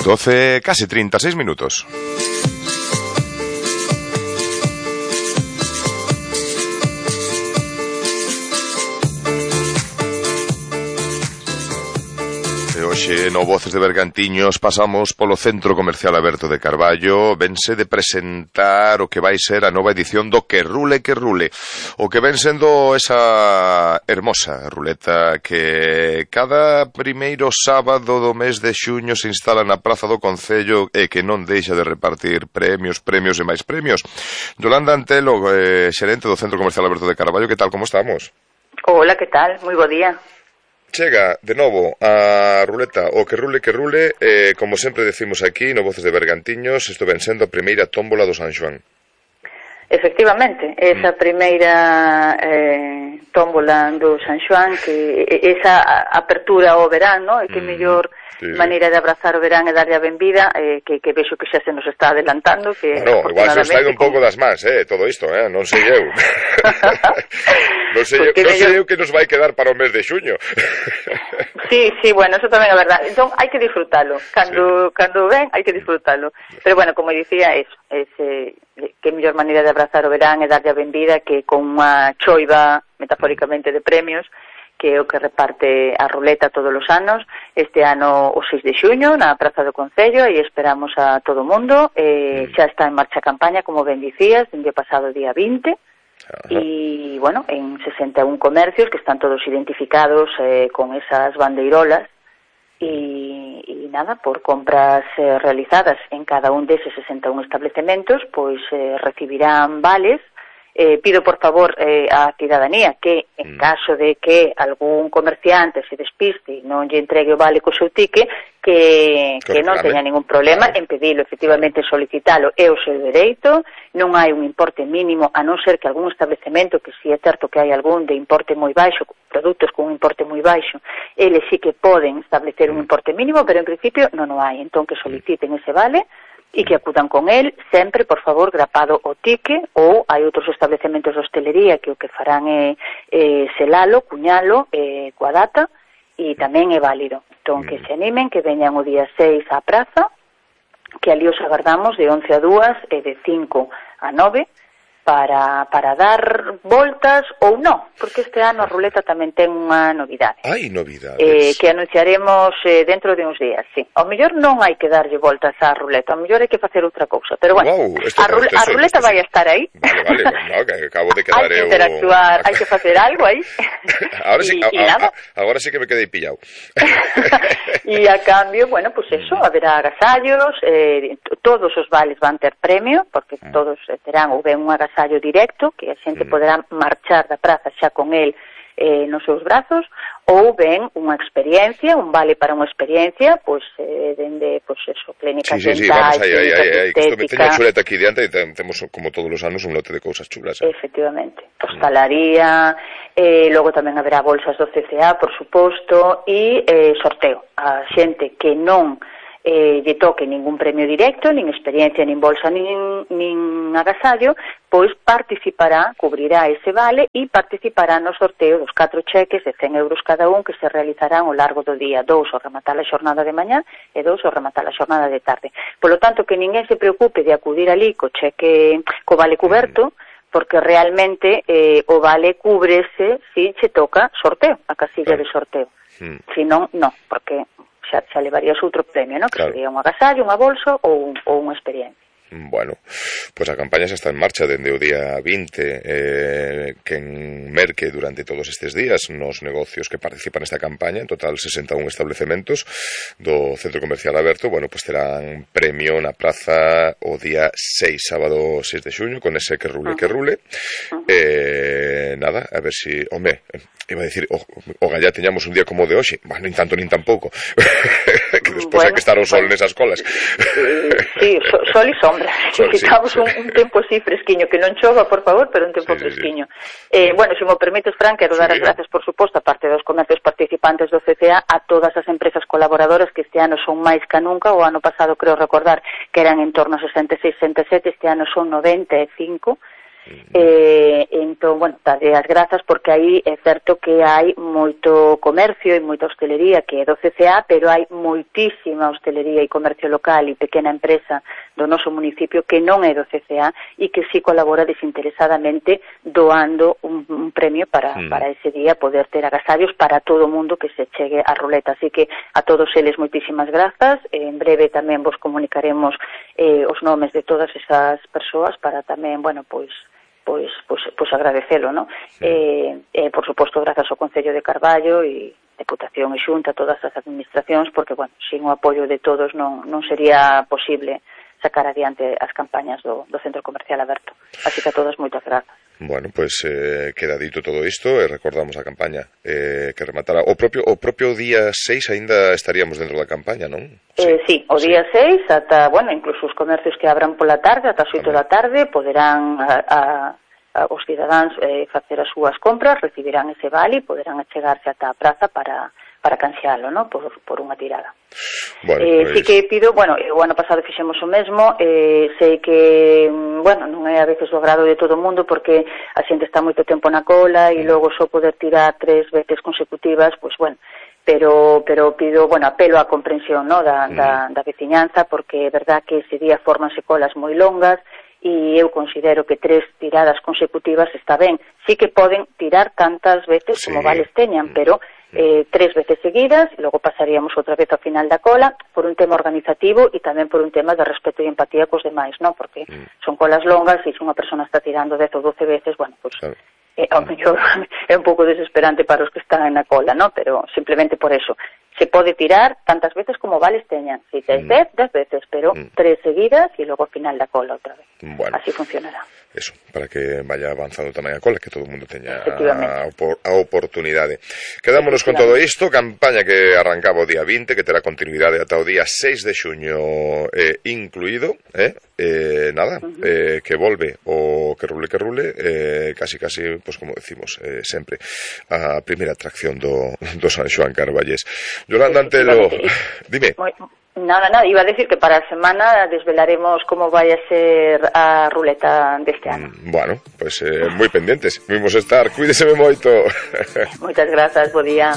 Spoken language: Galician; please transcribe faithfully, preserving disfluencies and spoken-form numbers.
doce, casi treinta y seis minutos. Hoxe no Voces de Bergantiños pasamos polo Centro Comercial Aberto de Carballo. Vense de presentar o que vai ser a nova edición do Que Rule, Que Rule. O que ven sendo esa hermosa ruleta que cada primeiro sábado do mes de xuño se instala na Praza do Concello e que non deixa de repartir premios, premios e máis premios. Yolanda Antelo, eh, xerente do Centro Comercial Aberto de Carballo, que tal, como estamos? Hola, que tal? Moi bo día. Chega, de novo, a ruleta, o que rule, que rule, eh, como sempre decimos aquí, no Voces de Bergantiños, isto ven sendo a primeira tómbola do San Xoán. Efectivamente, esa mm. primeira eh, tómbola do San Xoán, que esa apertura ao verán, no? E que mm. mellor sí, maneira de abrazar o verán e darlle a benvida, eh, que, que vexo que xa se nos está adelantando. Que bueno, igual se nos está un pouco das mans, eh, todo isto, eh, non sei eu. non sei, eu, non sei eu que nos vai quedar para o mes de xuño. Sí, sí, bueno, eso tamén é verdade. Entón, hai que disfrutalo. Cando, sí. cando ven, hai que disfrutalo. Pero bueno, como dicía, eso, ese, que mellor maneira de abrazar o verán e darlle a benvida que con unha choiva, metafóricamente, de premios, que é o que reparte a ruleta todos os anos. Este ano o seis de xuño na Praza do Concello e esperamos a todo o mundo. Eh, mm. Xa está en marcha a campaña, como ben dicías, dende o pasado día vinte. E, bueno, en sesenta e un comercios que están todos identificados eh, con esas bandeirolas e, e nada, por compras eh, realizadas en cada un deses sesenta e un establecementos, pois eh, recibirán vales. Eh, pido por favor eh, á cidadanía que en caso de que algún comerciante se despiste e non lle entregue o vale co seu tique, que, que non teña ningún problema en pedilo, efectivamente solicitalo, é o seu dereito. Non hai un importe mínimo, a non ser que algún establecemento, que si é certo que hai algún de importe moi baixo, produtos con un importe moi baixo, eles sí que poden establecer un importe mínimo, pero en principio non o hai. Entón que soliciten ese vale e que acudan con el, sempre, por favor, grapado o tique, ou hai outros establecementos de hostelería que o que farán é, é selalo, cuñalo, é, coa data, e tamén é válido. Entón, que se animen, que veñan o día seis á praza, que ali os agardamos de once a dúas e de cinco a nove, para, para dar voltas ou non, porque este ano a ruleta tamén ten unha novidade. Hai novidades? Eh, que anunciaremos eh, dentro de uns días, sí. Ao mellor non hai que darlle voltas á ruleta, ao mellor hai que facer outra cousa, pero bueno, wow, a, rule, a ruleta vai a estar aí. Vale, vale, no, que acabo de quedar hai que interactuar, eu... hai que facer algo aí. Ahora sí, y, a, y nada. A, agora sí que me quedei pillado. E a cambio, bueno, pues eso, haberá agasallos, eh, todos os vales van ter premio, porque todos terán ou ben un agasallo directo, que a xente mm. poderá marchar da praza xa con el eh, nos seus brazos, ou ben unha experiencia, un vale para unha experiencia, pois, eh, dende, pois, eso, clínica sí, sí, dental, sí, vamos, aí, aí, aí, estética... Teño a chuleta aquí diante e temos, como todos os anos, un lote de cousas chulas. Eh? Efectivamente. Hostalaría, eh, logo tamén haberá bolsas do C C A, por suposto, e eh, sorteo. A xente que non eh, lle toque ningún premio directo, nin experiencia, nin bolsa, nin, nin agasallo, pois participará, cubrirá ese vale e participará no sorteo dos catro cheques de cen euros cada un que se realizarán ao largo do día, dous ao rematar a xornada de mañá e dous ao rematar a xornada de tarde. Polo tanto, que ninguén se preocupe de acudir ali co cheque, co vale cuberto, porque realmente eh, o vale cúbrese si se toca sorteo, a casilla de sorteo. Mm. Si non, non, porque xa, xa levarías outro premio, ¿no? Que claro. Sería un agasallo, unha bolsa ou, ou unha experiencia. Bueno, pois pues a campaña xa está en marcha dende o día vinte, eh, que en merque durante todos estes días nos negocios que participan nesta campaña, en total sesenta e un establecementos do Centro Comercial Aberto, bueno, pois pues terán premio na praza o día seis, sábado seis de xuño, con ese que rule, uh -huh. que rule. Uh -huh. eh, nada, a ver si, home, iba a decir, o, o gallá teñamos un día como o de hoxe, bueno, nin tanto nin tampouco, que despois bueno, hai que estar o sol bueno. nesas colas. Sí, so, sol e sombra. Necesitamos sí, sí. Un, un tempo así fresquiño, que non chova, por favor, pero un tempo sí, fresquiño. Sí, sí. Eh, bueno, se me permites, Fran, quero sí. dar as gracias, por suposto, a parte dos comercios participantes do C C A, a todas as empresas colaboradoras que este ano son máis que nunca. O ano pasado, creo recordar, que eran en torno a sesenta e seis, sesenta e sete, este ano son noventa e cinco. Uh-huh. Eh, entón, bueno, darlle as grazas porque aí é certo que hai moito comercio e moita hostelería que é do C C A, pero hai moitísima hostelería e comercio local e pequena empresa do noso municipio que non é do C C A e que sí colabora desinteresadamente doando un, un premio para, uh-huh. para ese día poder ter agasallos para todo o mundo que se chegue a ruleta. Así que a todos eles moitísimas grazas. En breve tamén vos comunicaremos eh, os nomes de todas esas persoas para tamén, bueno, pois pois pois pois agradecelo, ¿no? Sí. Eh, eh, por suposto, grazas ao Concello de Carballo e Deputación e Xunta, todas as administracións, porque, bueno, sin o apoio de todos non non sería posible sacar adiante as campañas do, do Centro Comercial Aberto. Así que a todos moitas grazas. Bueno, pues eh, queda dito todo isto e recordamos a campaña eh, que rematará o propio o propio día seis aínda estaríamos dentro da campaña, non? Eh, sí, o día sí. seis ata, bueno, incluso os comercios que abran pola tarde ata as oito da tarde poderán a, a, a os cidadáns eh, facer as súas compras, recibirán ese vale e poderán achegarse ata a praza para para canxealo, ¿no? Por, por unha tirada. Bueno, eh, pues... sí que pido, bueno, o ano pasado fixemos o mesmo, eh, sei que, bueno, non é a veces do agrado de todo o mundo porque a xente está moito tempo na cola e logo só poder tirar tres veces consecutivas, pois, bueno, pero pero pido, bueno, apelo á comprensión, ¿no? da, mm. da, da veciñanza, porque é verdad que ese día formanse colas moi longas e eu considero que tres tiradas consecutivas está ben. Sí que poden tirar tantas veces sí. como vales teñan, mm. pero eh, tres veces seguidas, e logo pasaríamos outra vez ao final da cola, por un tema organizativo e tamén por un tema de respeto e empatía cos demais, ¿no? Porque mm. son colas longas e se unha persona está tirando dez ou doce veces, bueno, pues... Claro. Eh, ao mellor é un pouco desesperante para os que están na cola, ¿no? Pero simplemente por eso se pode tirar tantas veces como vales teñan. Si tes dez, dez veces, pero mm. tres seguidas e logo ao final da cola outra vez. Bueno, así funcionará. Eso, para que vaya avanzando tamén a cola, que todo o mundo teña a, a oportunidade. Quedámonos con todo isto, campaña que arrancaba o día vinte, que terá continuidade ata o día seis de xuño eh, incluído, eh? Eh, nada, uh-huh. eh, que volve o que rule que rule, eh, casi casi, pues como decimos eh, sempre, a primeira atracción do, do San Xoán Carballés. Yolanda Antelo, dime. Nada, nada, iba a decir que para a semana desvelaremos como vai a ser a ruleta deste ano. Mm, bueno, pues eh, moi pendientes, vimos estar, cuídeseme moito. Moitas grazas, bo día.